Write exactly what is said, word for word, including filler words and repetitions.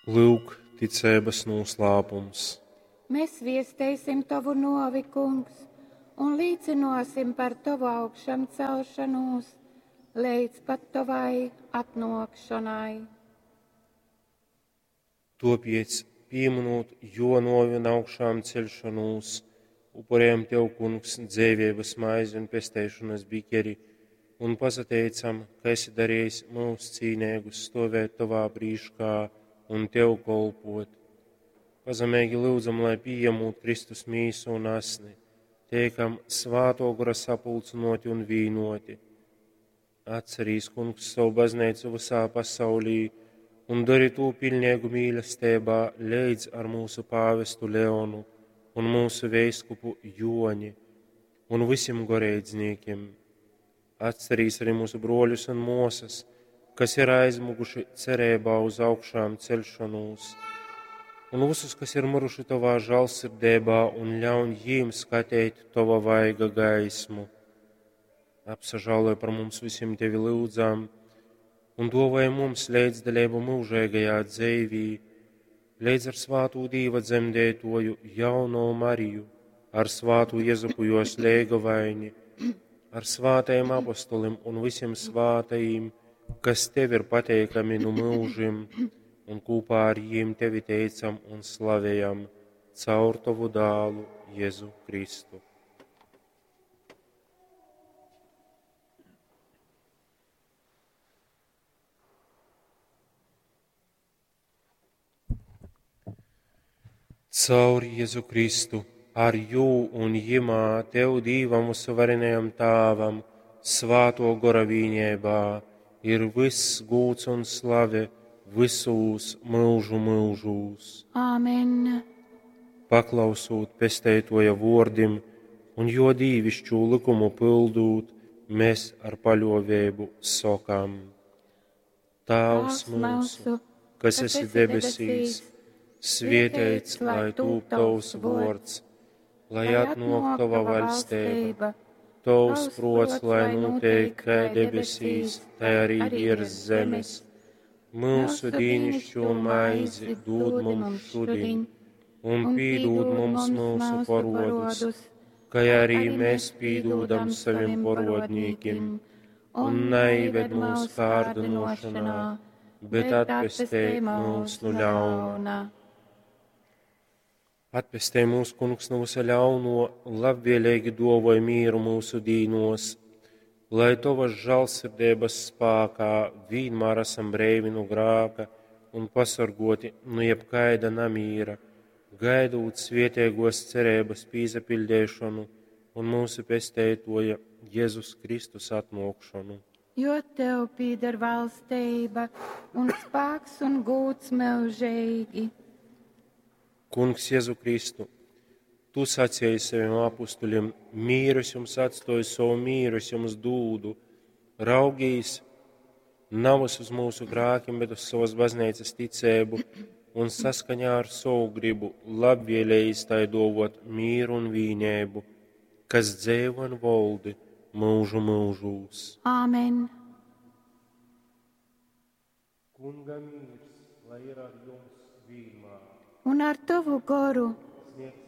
Lūk, ticeibas nūslāpums. Mēs viesteisim tovu nōvi, Kungs, un līcynōsim par tovu augšamcelšanūs leidz pat tovai atnōkšonai. Tōpēc, pīmynūt jō nōvi un augšāmceļšonūs, upurējam tev, Kungs, dzeiveibas maizi un pesteišonas bikeri un pasateicam, ka esi darījis mūs cīneigus stovēt tovā prīškā un tev kolpot. Pazemeigi lyudzam, lai pījemūt Kristus mīsu un asni, teikam Svātō Gora sapulcynōti un vīnoti. Atcerīs, Kungs, savu baznīcu visā pasaulī un dari tū pilnīgu mīlestībā leidz ar mūsu pāvestu Leonu un mūsu veiskupu Joni un visiem goreidznīkiem. Atcerīs arī mūsu broļus un mosas, kas ir aizmuguši cerībā uz augšām celšanos, un visus, kas ir miruši tavā žēlsirdībā, un ļauj jīm skatīt tava vaiga gaismu. Apsažāloj par mums visiem tevi lūdzam, un dāvāj mums līdzdalību mūžīgajā dzīvī, līdz ar svātu Dīva dzemdētoju jauno Mariju, ar svātu Jezupu jos leigavaini, ar svātajiem apostolim un visiem svātajiem, kas tev ir pateikami nu mūžim, un kopā ar jiem tevi teicam un slavējam caur tavu dālu Jēzu Kristu. Caur Jēzu Kristu, ar jū un jimā tev Dīvam uzvarenajam Tāvam, svāto gora vīņībā, ir viss gūts un slave visūs mūžu mūžūs. Āmen. Paklausūt pesteitoja vordim un jo dīvišķū likumu pildūt, mēs ar paļovēbu sokam. Tēvs mūsu, kas esi debesīs, svietēts, lai tūp tavs vords, lai atnok tava vaļstība, tavs prots, lai notiek kā debesīs, tā arī virs zemes. Mūsu dīnišķo maizi dod mums šodien, un pīdod mums mūsu parodus, kā arī mēs pīdodam saviem parodnīkiem, un neived mūsu kārdinošanā, bet atpestē mūs no ļauna. Atpestē mūs, Kungs, no visa ļauno, labvēlīgi dovoj mīru mūsu dīnos, lai tavas žēlsirdības spākā vienmēr esam breivi no grāka un pasargoti no jebkaida namīra, gaidot svietēgos cerības pīzapildēšanu un mūsu pestētoja Jēzus Kristus atnākšanu. Jo tev pieder valstība un spēks un gūts mūžīgi. Kungs Jēzu Kristu, tu sacīji saviem apustuļiem, mīru es jums atstoju, savu mīru es jums dūdu, raugīs navas uz mūsu grākiem, bet uz savas baznīcas ticēbu un saskaņā ar savu gribu labvēlējis tai dovot mīru un vīnēbu, kas dzēvo un voldi mūžu mūžūs. Āmen. Kunga mīrs, lai ir ar jums vienmēr. Un ar tavu goru. Sniegsim